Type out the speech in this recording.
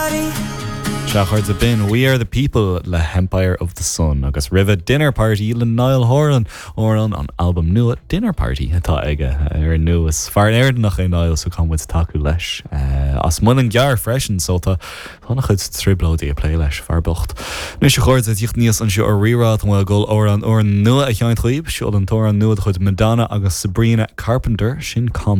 Sea, a chairde, b'in We Are The People le hEmpire of the Sun agus roimhe Dinner Party le Niall Horan, amhrán ón albam nua Dinner Party atá aige ar ndóigh. Is fear Éireannach é Niall so caithfidh muid tacú leis. As Muileann gCearr freisin so tá an-chuid trioblóidí ag plé leis, fear bocht. Anois a chairde, ag tíocht aníos anseo ar Rí-Rá tá mé ag dul amhrán úr nua a sheinnt dhaoibh. Seo an t-amhrán nua de chuid Madonna agus Sabrina Carpenter, sin Combo.